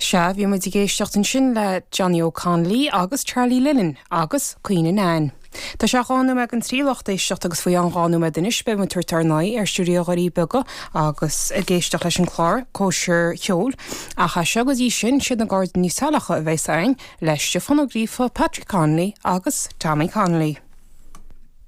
Sea, bhí muid ag éisteacht ansin le Johnny O'Connolly agus Charlie Lennon agus Caoineadh Nan. Tá sé 12 nóiméad don 3 a lucht éisteachta agus faoi cheann 2 nóiméad anois beidh muid ag tabhairt ár n-aghaidh ar Stiúideo Dhoirí Beaga agus ag éisteacht leis an chlár Cóisir Cheoil. Ach as seo go dtí sin, siad na Gairdíní Saileacha a bheas againn le Stiofán Ó Gríofa, Patrick Connolly agus Tommy Connolly.